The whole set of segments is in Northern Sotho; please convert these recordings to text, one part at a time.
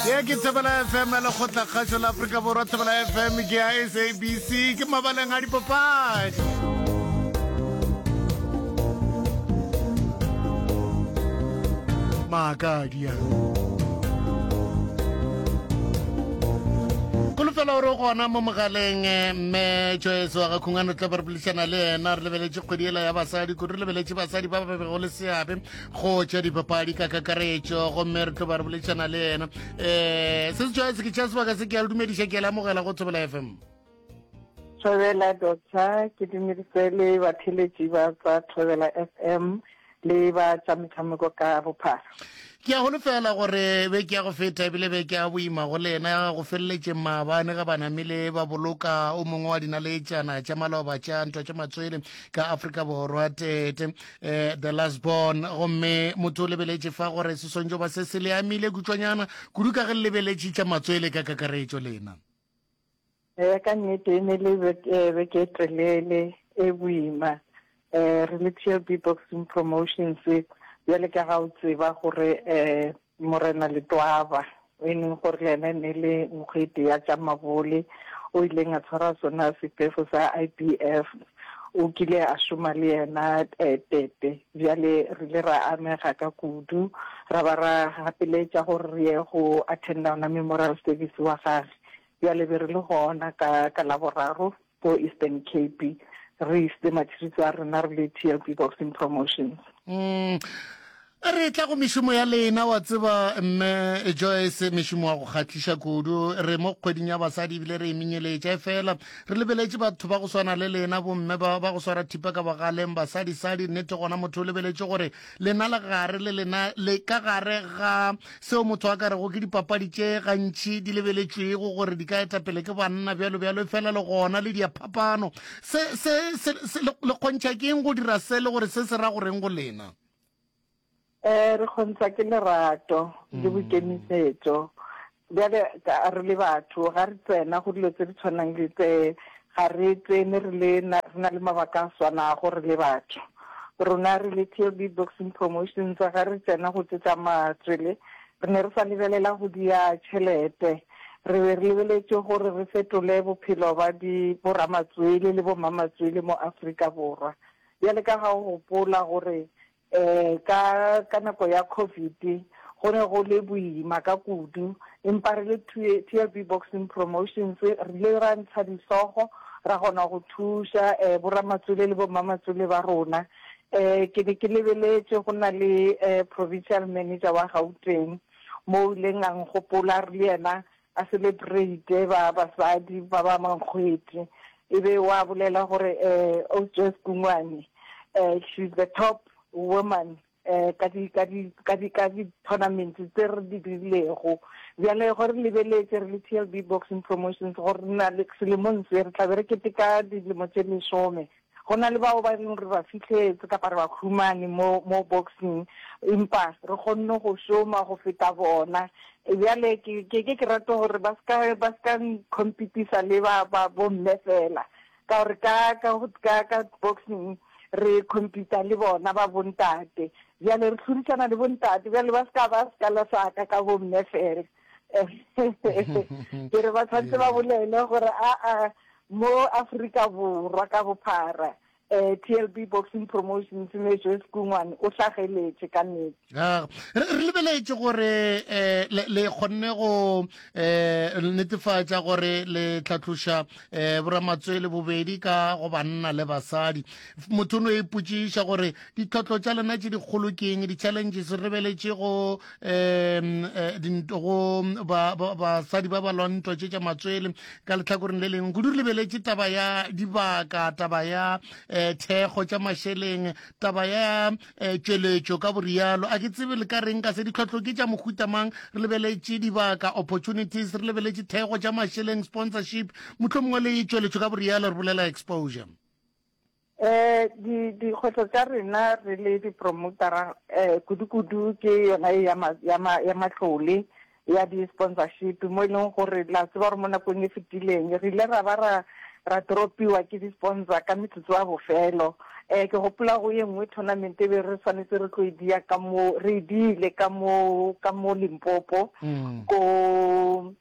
Ye ke Thobela FM ya Lekgotlakgašo la Afrika Borwa. Thobela FM ke ya SABC, ke mabaleng a dipapadi. Maakadi a. Kolofela gore o gona mo mogaleng eh, mme Joyce wa ga Khungano tla ba re boledišana le yena re lebeletše kgwedi ela ya basadi kudu re lebeletše basadi ba ba bego le seabe go tša dipapadi ka kakaretšo gomme re tlo ba re boledišana le yena um se se tšwa se ke tša sebaka se ke a le dumediša ke a le amogela go Thobela FM. Thobela Doctor, ke dumedise le batheletši ba tsa Thobela FM le ba tša metshameko ka bophara. Ke a holofela gore beke ya go feta ebile beke ya boima go lena go feleletše maabane ge ba namile ba boloka o mongwe wa dinaletšana tša maloba tša ntwa tša matswele ka Afrika Borwa tete eh, the last born gomme motho o lebeletše fa gore se swantšo ba se se le amile kutšwanyana kudu ka ge le lebeletše tša matswele ka kakaretšo lena. Ee, ka nnete e ne le beke e telele e boima. Um re le TLB Boxing Promotions, bjale ka ga o tseba gore um Morena Letwaba, e leng gore le yena e ne le nkgwete ya tša mabole, o ileng a tshwara sona sefefo sa IBF, o kile a šoma le yena Tete. Bjale re ile ra amega ka kudu, ra ba ra gapeletša gore re ye go attenda ona memorial service wa gage. Bjale be re le gona ka, ka Laboraro ko Eastern Cape, re isitse matšhiriso a rena re le TLB Boxing Promotions. Mm. Re tla go mešomo ya lena, wa tseba mme Joyce, mešomo wa go kgahliša kudu. Re mo kgweding ya basadi ebile re e menyeletša, efela re lebeletše batho ba go swana le lena bomme ba, ba go swara thipa ka bogaleng, basadisadi. Nnete gona motho o lebeletše gore lena le gare le lena le ka gare ga seo motho a ka rego ke dipapadi tše gantši di lebeletšwego gore di ka etapele ke banna bjalo bjalo, efela le gona le diaphapano. Se, se, se, se, le, le kgontšha ke eng go dira se le gore se se ra goreng go lena? Um re kgontšha ke lerato le boikemišetšo. Bjale ka re le batho ga re tsena go dilo tse di tshwanang le tse, ga re tsene re le na, re na le mabaka a swanago re le batho. Rona re le TLB Boxing Promotions ga re tsena go tše tša matswele, re ne re sa lebelela go dia tšhelete. Re be re lebeletše gore re fetole bophelo ba di boramatswele le bommamatswele mo Afrika Borwa. Bjale ka ga o gopola gore Eh, ka, ka nako ya Covid, go ne go le boima ka kudu, empa re le TLB Boxing Promotions, re ile ra ntsha dihlogo, ra kgona go thuša, eh, boramatswele le bommamatswele ba rona. Eh, ke ne ke lebeletše go na le, eh, provincial manager wa Gauteng, mo o ileng a nkgopola re le yena a celebrate ba basadi ba ba mankgwete, e be wa bolela gore eh o Joyce Kungwane eh she's the top woman eh ka di ka di ka di ka di tournament tse re di dirilego. Bjale go re lebeletse re le TLB Boxing Promotions gore re na le selemong se re tla be re keteka dilemo tše lesome. Go na le bao ba reng re ba fihletse kapa re ba humane mo, mo boxing, empa re kgonne go šoma go feta bona. Bjale ke, ke ke ke rate gore ba se ka, ba se ka nkhompitisa le ba, ba bomme fela, ka gore ka, ka, ka, ka boxing re khompita le bona ba bontate. Bjale re hlodisana le bontate, bjale ba se ka ba sekala sa ka ka bomme fela. Ke re ba tshwanetse ba bolele gore aa, Mo Afrika Borwa ka bophara, TLB Boxing Promotions me Joyce Kungwane o hlageletše ka nnete. Re re lebeletše gore le le kgonne go netefatša gore le tlhatloša boramatswele bobedi ka go banna le basadi. Motho o no ipotšiša gore ditlhotlo tša lena tše dikgolo ke eng, di-challenges re lebeletše go um go basadi ba ba lwang ntwa tše tša matswele ka letlhakoreng le lengwe kudu re lebeletše taba ya dibaka taba ya um thekgo tša mašeleng taba ya um tšweletšo ka borialo a ke tsebe le ka reng ka se ditlhohlo ke tša mohuta mang re lebeletše dibaka opportunities re lebeletše thekgo tša mašeleng sponsorship mohlomongwe le tšweletšo ka borialo re bolela exposure Eh, di dikgwetlho tša rena re le dipromotara eh, kudu-kudu ke yona e ya, ma, ya, ma, ya matlole ya di-sponsorship mo e leng gore la tseba gore mo nakong e fetileng re ile ra ba ra ra dropiwa ke di-sponsor ka metsotso ya bofelo. Um ke gopola go ye nngwe tournament e be re swanetse re tlo e dia ka mo, re e diile ka mo, ka mo Limpopo, ko,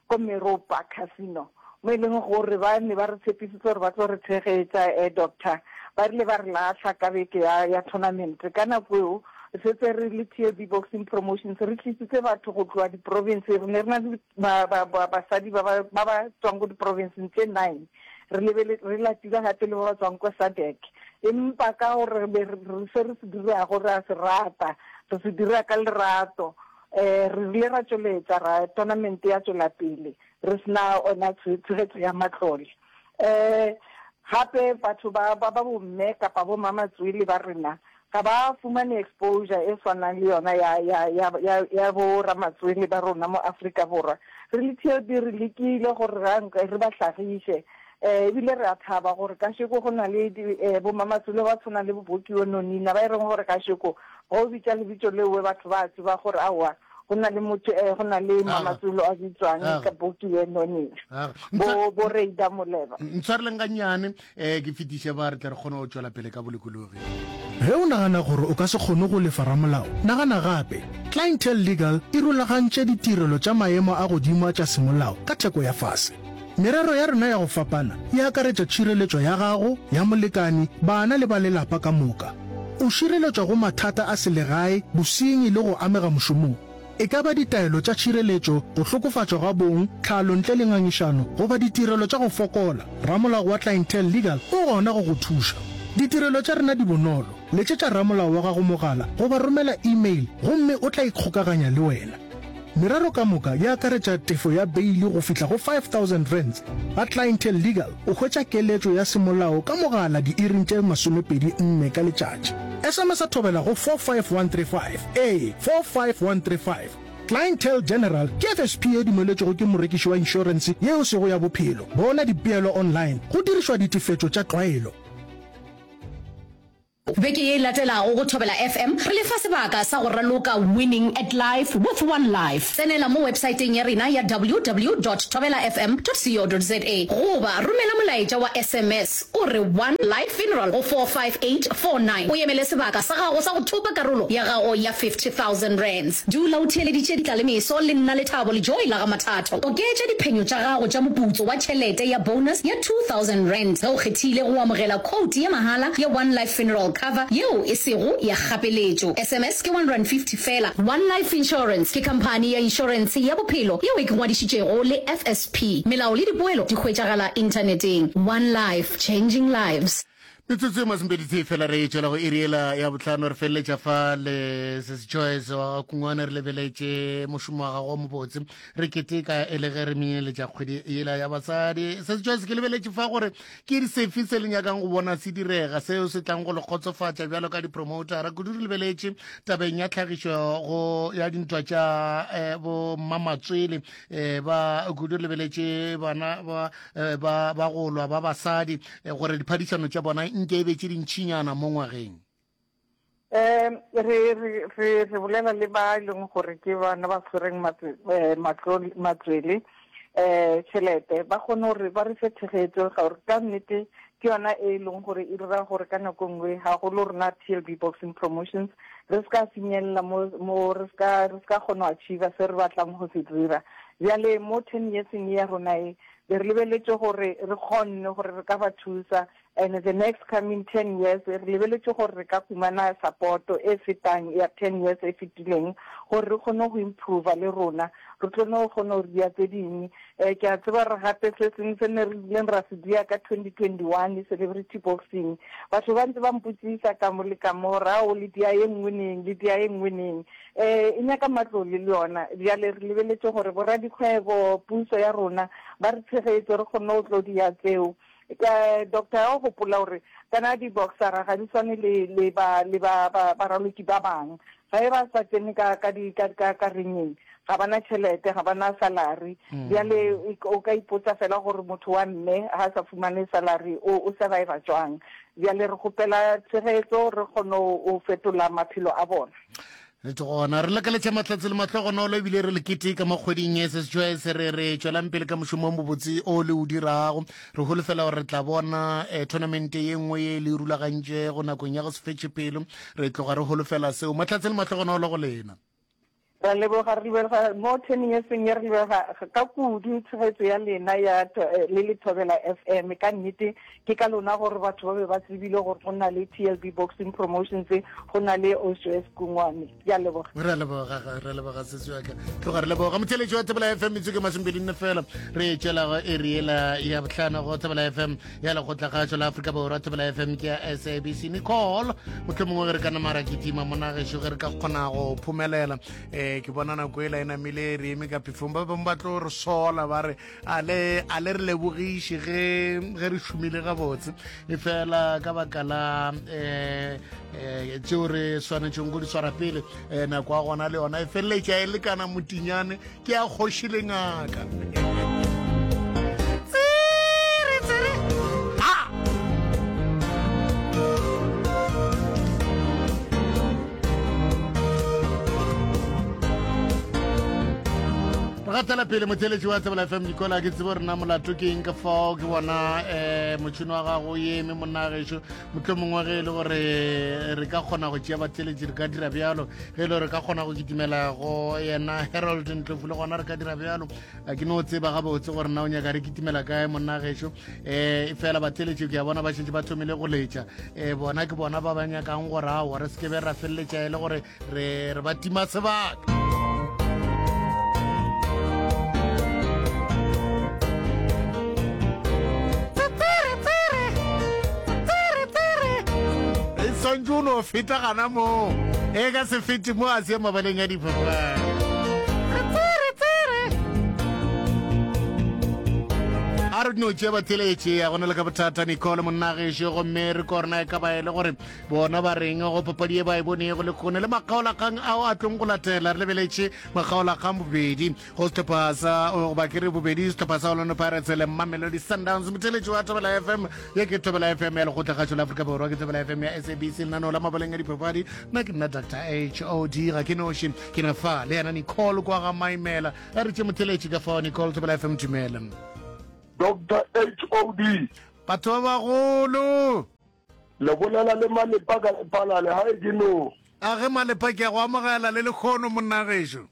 ko Meropa Casino, mo e leng gore ba ne ba re tshepisitse gore ba tlo re tshegetša, eh, Doctor. Ba rile ba re lahla ka beke ya, ya tournament. Ka nako eo, re setse re le TLB Boxing Promotions, re tlisitse batho go tloga di-province, re ne re na le ba, ba, ba, basadi ba ba, ba ba tswang ko di-provinceng tše nine. Re lebele, re latile gape le ba ba tswang kwa SADC. Empa ka gore re be re, re se re se dirago re a se rata, re se dira ka lerato, um re rile ra tšweletša ra tournament ya tšwela pele re se na ona tshegetso ya matlole. Um gape batho ba, ba, ba bomme kapa bo mamatswele ba rena ga ba fumane exposure e swanang le yona ya, ya, ya, ya, ya bo ramatswele ba rona mo Afrika Borwa. Re le TLB re lekile gore ra nka re ba hlagiše, eh, ebile re a thaba gore kasheko go na le di, eh, bo mamatswele ba tshwanang le bo Bokiwe Nonina ba e reng gore kasheko ge o bitša lebitso leowe batho ba tseba gore aowa go na le motho, eh, go na le mamatswele a bitswang ka Bokiwe Nonina, bo, bo Reida Moleba. Ntshwareleng gannyane, um ke fetiše ba re tle re kgone go tšwela pele ka bolokologi. Ge o nagana gore o ka se kgone go lefa ramolao, nagana gape. Clientele Legal e rulagantše ditirelo tša maemo a godimo a tša semolao ka theko ya fase. Merero ya rena ya go fapana e akaretša tšhireletšo ya gago, ya molekane, bana le ba lelapa ka moka. O šireletšwa go mathata a selegae, bosenyi le go amega mošomong. E ka ba ditaelo tša tšhireletšo, go hlokofatšwa ga bong, tlhalo ntle le ngangišano, goba ditirelo tša go fokola, ramolao wa Clientele Legal o gona go go thuša. Ditirelo tša rena di bonolo, letšetša ramolao wa gago mogala goba romela e-mail gomme o tla ikgokaganya le wena. Merero ka moka e akaretša tefo ya beili go fihla go R5000. Ga Clientele Legal o hwetša keletšo ya semolao ka mogala diiring tše 24 ka letšatši. SMS-a thobela go 45135. Ee, 45135. Clientele General ke FSP ye dumeletšwego ke morekiši wa inšorense ye e sego ya bophelo. Bona dipeelo online go dirišwa ditefetšo tša tlwaelo. Beke ye e latelago go Thobela FM re le fa sebaka sa go raloka Winning at Life with One Life. Tsenela mo websaeteng ya rena ya www dot thobelafm dot co dot za goba romela molaetša wa SMS o re One Life Funeral go 45849 o emele sebaka sa gago sa go thopa karolo ya gago ya R50,000. Dula o theeleditše Ditlalemeso le nna Lethabo le Joy la ga Mathatho. Oketša diphenyo tša gago tša moputso wa tšhelete ya bonus ya R2000 ge o kgethile go amogela quote ya mahala ya One Life Funeral Cover yeo e sego ya kgapeletšo. SMS ke R150 feela. One Life Insurance ke khamphani ya inšorentshe ya bophelo yeo e ngwadišitšego le FSP. Melao le dipoelo di hwetšagala inthaneteng. One Life, changing lives. Metsotso e masomepeditee fela re tšwela go iri ela ya bohlano, re feleletša fa le Sesi Joyce wa ga Kungwana, re lebeletše mošomo wa gagwe o mobotse, re keteka e le ge re menyeletša kgwedi yela ya basadi. Sesi Joyce, ke lebeletše fa gore ke sefe se le nyakang go bona se direga, seo se tlang go le kgotsofatša bjalo ka dipromotara, kudu re lebeletše tabeng ya tlhagišo go ya dintwa tša eh, bo mmamatswele eh, ba kudu re lebeletše bana ba eh, ba ba go lwa ba basadi eh, gore diphadišano tša bona nke e be tše dintšhinyana mo ngwageng. Um re re re re bolela le ba e leng gore ke bana ba tshwereng eh, matswele um tšhelete ba kgone gore ba re fe tshegetso gore ka nnete ke yona e leng gore e dira gore ka nako nngwe gagolo rona TLB Boxing Promotions re se ka finyelela mo mo re se ka re se ka kgona go achieve se re batlang go se dira. Bjale mo ten yearseng ya rona e be re lebeletše gore re kgonne gore re ka ba thusa and the next coming ten years re lebeletše gore re ka humana support e fetang ya ten years e fetileng gore re kgone go improve le rona re tlo no kgona go dia tse dingwe. Um ke a tseba re gape se sengwe se ne re ileng ra se dia ka 2021 celebrity boxing, batho ba ntse ba mpotsisa ka mo le ka mo gore ao le dia ye nngwe neng, le dia ye nngwe neng. Um e nyaka matlole le yona. Bjale re lebeletše gore boradikgwebo, puso ya rona ba re tshegetse re kgone go tlo dia tseo. Ka doctor ya go gopola gore kana di-boxera ga di swane le le ba le ba ba baraloki ba bang. Ge ba sa tsene ka ka di ka ka ka ringeng ga ba na tšhelete, ga ba na salary. Bjale o ka ipotsa fela gore motho wa mme ha sa fumane salary o o surviva jwang. Bjale re kgopela tshegetso re kgone go fetola maphelo a bona. Nnete gona, re lakaletša mahlatse le mahlogonolo ebile re le keteka mo kgweding ye se Choice. Re re tšwelang pele ka mošomo o mobotse o le o dirago. Re holofela gore re tla bona eh, tournament ye nngwe ye le e rulagantšego nakong ya go se fetše pelo. Re tloga re holofela seo. Mahlatse le mahlogonolo go lena. Ra leboga, re leboga mo ten yearseng ye, re leboga ka kudu tshegetso ya lena ya le le Thobela FM. Ka nnete ke ka lona gore batho ba be ba tsebile gore go na le TLB Boxing Promotions, go na le Osjoes Kungwane. Ke a leboga. Re a leboga, re a leboga sesi wa ka. Tloga re leboga. Motheeletši wa Thobela FM, metsotso ke masomepedinne fela re tšwela go iri yela ya bohlano go Thobela FM ya lekgotlakgašo la Afrika Borwa. Thobela FM ke ya SABC. Nicole, mohlomongwe ge re ka nama ra kitima mona gešo ge re ka kgona go phomelela. Um ke bona nako ela e namile re eme ka phefong, ba bangwe ba tlo re sola ba re a le a le re lebogiše ge ge re šomile gabotse, e fela ka baka la um um tšeo re swanetšeng go di swara pele um nako ya gona le yona e feleletša e lekana motinyane ke ya kgoši le ngaka. Tsere, tsere. Ha! Re gatela pele motheletši wa Tsebela FM Nicola, ke tsebo rena molato ke eng ka fao ke bona um motšhini wa gago o eme monna gešo. Mohlomongwe ge e le gore re ka kgona go tšea batheletši re ka dira bjalo, ge e le gore re ka kgona go kitimela go yena Harold Ndlovu le gona re ka dira bjalo. A ke no tseba gabotse gore na o nyaka re kitimela kae monna gešo. Um fela batheletši ke a bona ba šetše ba thomile go letša, um bona ke bona ba ba nyakang gore aowa re se ke be ra feleletša e le gore re re ba tima sebaka. E swantše o no feta gana moo e ka se fete mo a se mabaleng a dipapadi. A re no tšea batheletše ya gona le ka bothata Nicole monnagešo, gomme re korona e ka ba e le gore Bona ba reng go papadi ye ba e bonego lekgone le makgaolakgang ao a tlong go latela. Re lebeletše makgaolakgang bobedi go sehlopha sa goba ke re bobedi sehlopha sa Orlando Pirates le Mamelodi Sundowns. Motheletši wa Thobela FM, ye ke Thobela FM ya Lekgotlakgašo la Afrika Borwa, ke Thobela FM ya SABC, lenaneo la mabaleng a dipapadi. Nna ke nna Dr HOD, ga ke noši, ke na fa le yena Nicole kwa ga Maimela. A re tše motheletši ka fao. Nicole, Thobela FM, dumela. Dr HOD. Batho ba bagolo. Le bolela le Malepa ka Lephalale, hae ke no. A ge Malepa ke a go amogela le lekgono monna gešo.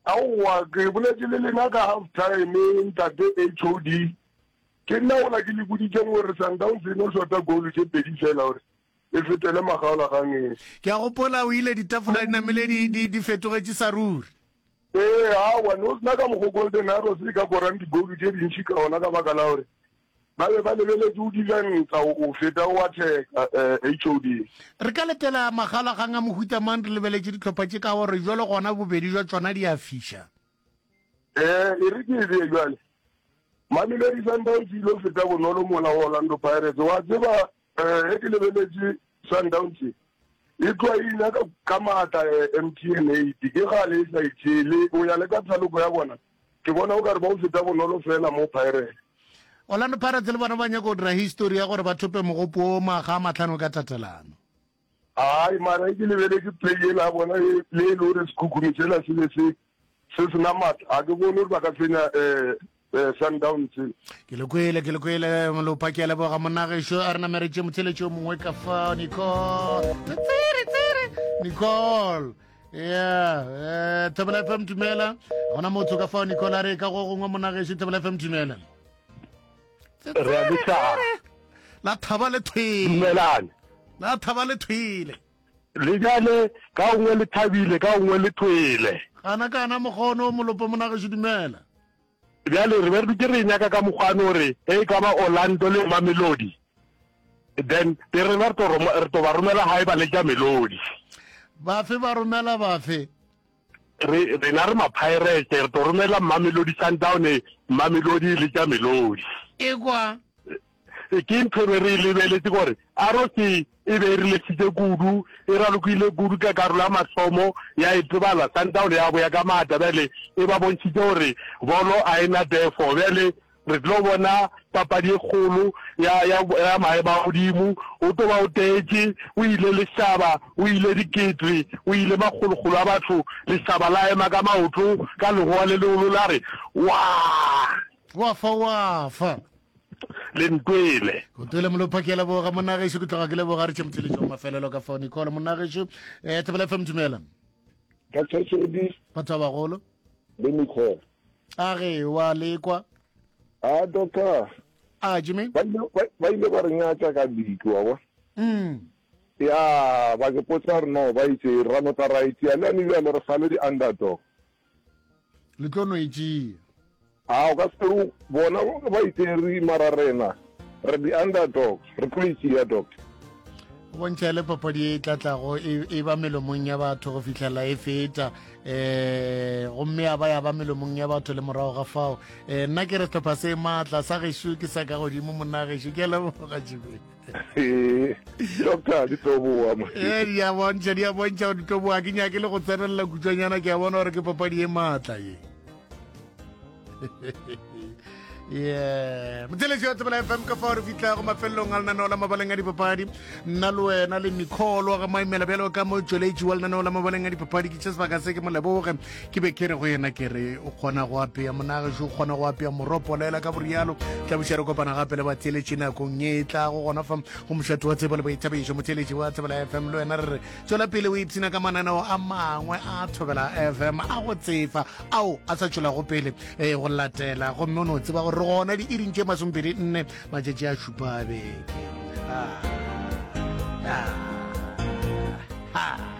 Aowa ke boletše le lena ka half time ntate HOD. Ke nna gola ke le boditšeng gore Sundowns e no shota goal tše pedi fela gore e fetele makgaolakgangeng. Ke a gopola o ile ditafola di namile di, di, di fetogetše sa ruri. Ee, aowa ne o sena ka mokgo Golden Arrows e ka korang di-goal tše dintši ka gona ka baka la gore Ba be ba lebeletše o defensa o feta o attacker HOD. Re ka letela magalagang a mohuta mang re lebeletše dihlopha tše ka gore bjalo gona bobedi jwa tšona di a fiša? Eh, e re ke e bee bjale. Mamelodi Sundowns e ile feta bonolo mola go Orlando Pirates. Wa tseba eh, ge ke lebeletše Sundowns e tloa e nyaka ka maatla eh, MTN 8 ke gale e sa itšele o ya le ka thaloko ya bona Ke bona o ka re ba o feta bonolo fela mo Pirates. Orlando Pirates le bona ba nyaka go dira history ya gore ba thope mogopo wo makga a mahlano ka tatelano. Ai mara e ke lebeletše play yela ya bona e le e le gore sekhukhuni sela se be se se sena matla ga ke bone gore ba ka fenya um Sundowns. Ke le kwele, ke le kwele Molopa, ke a leboga monna gešo. A re nameretše motheletši o mongwe ka fa Nicole. Tsere, tsere, Nicole. Yeah, eh, Thobela FM dumela. Gona motho ka fao Nicola re ka go gongwe monagešo Thobela FM dumela. Re a lesa. La thaba le thwele. Dumelane. La thaba le thwele. Le jale ka gongwe le thabile ka gongwe le thwele. Gana kana mogono molopo monagešo dumela. Bjale re be re dutše re e nyaka ka mokgwa no re ge e ka ba Orlando le Mamelodi then be rena re tlo re tlo ba romela gae ba letša melodi. Bafe ba romela bafe? Re rena re ma-Pirates re tlo romela Mamelodi Sundown Mamelodi e letša melodi. Ekwa. Ke ntho e be re e lebeletše gore Arrows e be e relaxitše kudu, e ralokile kudu ka karolo ya mathomo ya itebala. Sundown ya boya ka maatla bjale e ba bontšhitše gore bolo a e na tefo. Bjale Re tlo bona papadi e kgolo ya, ya, ya maemo a godimo. O tlo ba o tetše, o ile lešaba, o ile dikete, o ile makgolokgolo a batho. Lešaba la ema ka maoto ka legoa le legolo la re, Waa! Wa fa, wa fa. Le ntwele. O twele molopha ke a leboga monna gešo ke tloga ke leboga re tše motšheletšo wa mafelelo ka fao Nicole monna gešo eh Thobela FM dumela. Doctor Shedi. Batho ba bagolo. Le Nicole. A ge wa lekwa. A doctor. A Jimmy. Ba ile ba ile ba re nyatša ka league wa bona. Mm. Ya ba ke potsa re no ba itse ra no tla ra itse le ane bjale re sale di underdog. Le tlo no itšea. A o ka se re bona ba itse re mara rena re di underdog re tlo itšea doctor. O bontšha le papadi e tla tlago e, e ba melomong ya batho go fihlela e feta um gomme ya ba ya ba melomong ya batho le morago ga fao um nna ke re sehlopha se maatla sa gešo ke sa ka godimo monna gešo ke a leboga jebe doctor di tlo boa ee di a bontšha di a bontšha gore di tlo boa ke nyake le go tsenelela kutšwanyana ke a bona gore ke papadi e maatla ye yeah motheletši wa tsebela fm ka fao re fitlhago mafelelong a lenaneo la mabaleng a dipapadi nna le wena le nicole ga maimela bjalo ka motšweletši wa lenaneo la mabaleng a dipapadi ke tše sebaka se ke mo leboge ke be ke re go yena ke re o kgona go apea monagešo o kgona go apea moropolela ka borialo tla buša re kopana gape le batheletši nakong ye e tlago gona fa go mošate wa tsebo le boithabišo motheletši wa tsebela fm le wena re re Tšwela pele o ipshina ka mananeo a mangwe a Thobela FM a go tsefa ao a sa tšwelago pele eh, go latela gomme o no tseba gore re gona diiring tše masomepedi nne matšatši a šupa a beke. Ah, ah, ah.